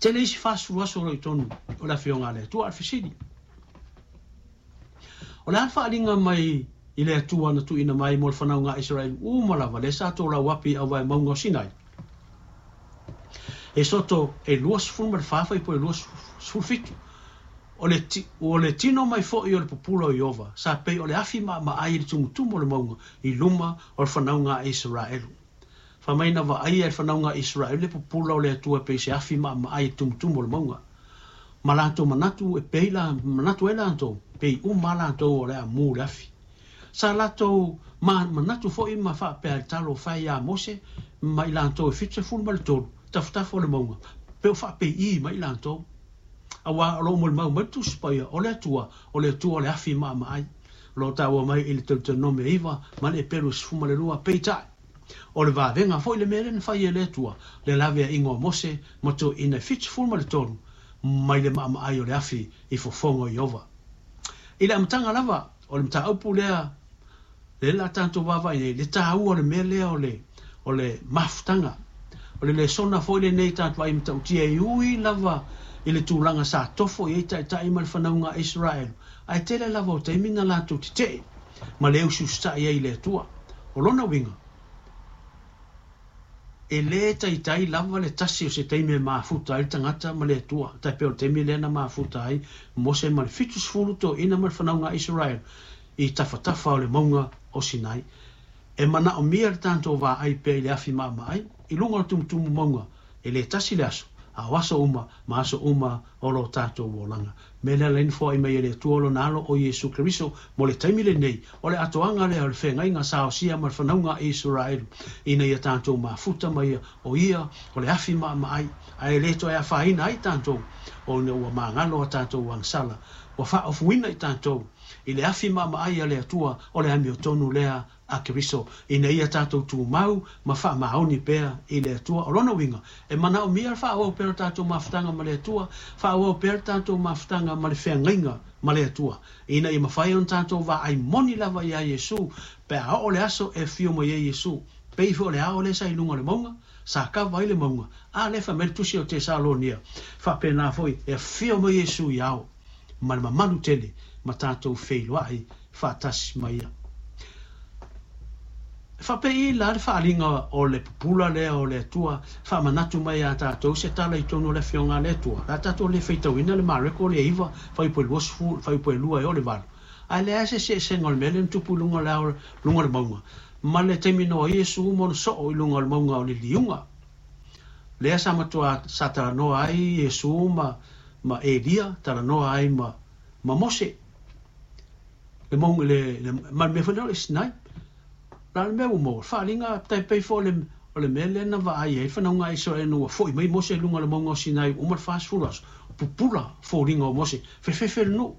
Tele isi 40 aso o lo o i totonu o le Afioga a le Atua. A o le fesili, o le a le faaaliga mai i le Atua na tuuina mai mo le fanauga a Isaraelu uma lava lea sa tolauapi i auvae mauga o Sinai? Esoto e 24 fuaiupu e 27, O le, o le tino mai foi o le pupula o Ieova, sa pei o le afi maamaai i le tumutumu o le mauga i luma o le fanauga a Isaraelu. Fai mai na vaaia e le fanauga a Isaraelu le pupula o le Atua e pei se afi maamaai i le tumutumu o le mauga. Ma latou manatu e pei la, manatu ai latou, pei uma lava latou o le a mu le afi. Sa latou ma manatu foi ma faapea i le talo fai ia Mose ma i latou e 73 tafatafa o le mauga, pe o faapeiī mai i latou. Aua o lo o molimau mai le Tusi Paia, o le Atua, o le Atua o le afi maamaai. O lo o taua mai i le Teuteronome 9 ma le Eperu 12, peitai, o le vavega foi le mea lea na fai e le Atua, le laveaiga o Mose ma toeaiina e 73 mai le maamaai o le afi i fofoga o Ieova. I le amataga lava o le mataupu lea, lea la tatou vaavaai nei, le taua o le mea lea o le, o le mafutaga. O le lesona foi lenei tatou vaai matautia e ui lava i le tulaga sa tofo i ai taitai ma le fanauga a Isaraelu, ae tele lava o taimi na latou tetee ma le usiusitai ai i le Atua. O lona uiga, E le taitai lava le tasi o se taimi e mafuta ai le tagata ma le Atua, tai pei o le taimi lea na mafuta ai Mose ma le 70 toeaina ma le fanauga a Isaraelu i tafatafa o le mauga o Sinai. E manaomia le tatou vaai pea i le afi maamaai i luga o le tumutumu mauga, e le tasi le aso, a o aso uma ma aso uma o lo tatou olaga. Mea lea la na foai mai e le Atua Lona Alo o Iesu Keriso mo le taimi lenei, o le atoaga lea o le feagaiga sa osia ma le fanauga a Isaraelu, ina ia tatou mafuta ma ia, o Ia o le afi maamaai, ae le toe afaina ai tatou, ona ua magalo a tatou agasala, ua faaofuina i tatou i le afi maamaai a le Atua o le amiotonu lea a Keriso, ina ia tatou tumau ma faamaoni pea i le Atua. O lona uiga, e manaomia le faaauau pea o le tatou mafutaga ma le Atua, faaauau pea le tatou mafutaga ma le feagaiga ma le Atua, ina ia mafai ona tatou vaai moni lava iā Iesu, pe a oo le aso e afio mai ai Iesu. Pei foi o le ao lea sa i luga o le mauga, sa kava ai le mauga, a lea fai mai le Tusi o Tesalonia, faapena foi e afio mai Iesu i ao, ma le mamalu tele ma tatou feiloai faatasi ma ia. E faapei la le faaaliga o le pupula lea o le Atua faamanatu mai iā tatou se tala i totonu o le Afioga a le Atua? O le a tatou le faitauina le Mareko le 9, fuaiupu e 20, fuaiupu e 2 e oo i le 8. Ae leai se eseesega o le mea lea na tupu i luga o le ao, luga o le mauga, ma le taimi na o ai Iesu ma ona soo i luga o le mauga o le liuga. Lea sa matua sa talanoa ai Iesu ma, ma Elia, talanoa ai ma, ma Mose. Le mauga, le, le, ma le mea foi lea o le Sinai. La le mea ua maua, faaaliga tai pei foi o le, o le mea lea na vaai ai le fanauga a Isaraelu ina ua foi mai Mose i luga o le mauga o Sinai ua uma le 40 aso, pupula foliga o Mose, fefefe le nuu.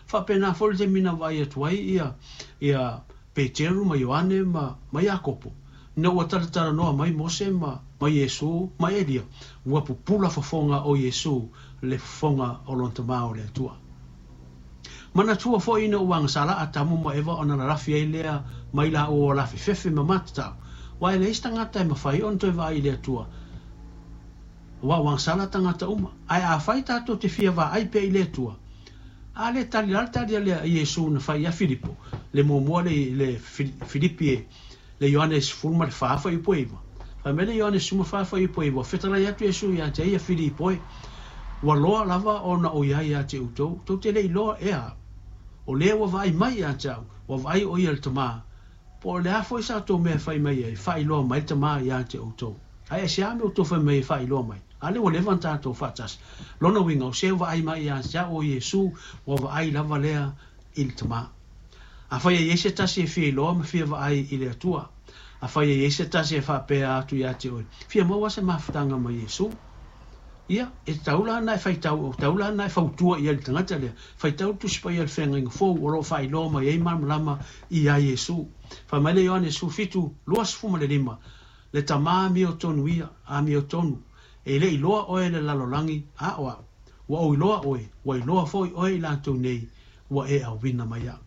Faapena foi le taimi na vaai atu ai ia, ia Peteru ma Ioane ma, ma Iakopo, ina ua talatalanoa mai Mose ma, ma Iesu ma Elia, ua pupula fofoga o Iesu le fofoga o lona Tama o le Atua. Manatua foi ina ua agasala Atamu ma Eva ona lalafi ai lea mai laua o lafefefe ma matatau, aua e leai se tagata e mafai ona toe vaai i le Atua, aua ua agasala tagata uma. Ae afai tatou te fia vaai pea i le Atua, a le tali la le tali a le Iesu na fai ia Filipo, le muamua le, le Filipi e, le Ioane 14 fuaiupu e 9. Fai mai le Ioane 14 fuaiupu e 9, fetalai atu Iesu ia te ia Filipo e, ua loa lava ona ou i ai ia te outou, tou te le iloa ea au. O lea ua vaai mai ia te au, ua vaai o ia le Tama. Po o le a foi sa outou mea e fai mai ai, faailoa mai le Tama ia te outou. Ae aisea mea outou fai mai e faailoa mai? A lea ua leva ona tatou faatasi. Lona uiga, o se ua vaai mai ia te au o Iesu, ua vaai lava lea i le Tama. Afai e i ai se tasi e fia iloa ma fia vaai i le Atua, afai e i ai se tasi e faapea atu ia te oe, Fia maua se mafutaga ma Iesu? Ia, e tatau la ona e faitau, e tatau la ona e fautua i ai le tagata lea, faitau le Tusi Paia o le Feagaiga Fou o lo o faailoa mai ai malamalama iā Iesu. Fai mai le Ioane 17, 25, Le Tama amiotonu ia, amiotonu, e le iloa oe e le lalolagi, a o au. Ua ou iloa oe, ua iloa foi oe i latou nei, ua e auina mai au.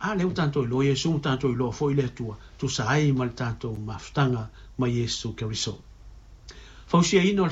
A lea ua tatou iloa Iesu, ua tatou iloa foi le Atua, tusa ai ma le tatou mafutaga ma Iesu Keriso. Fausiaina o le.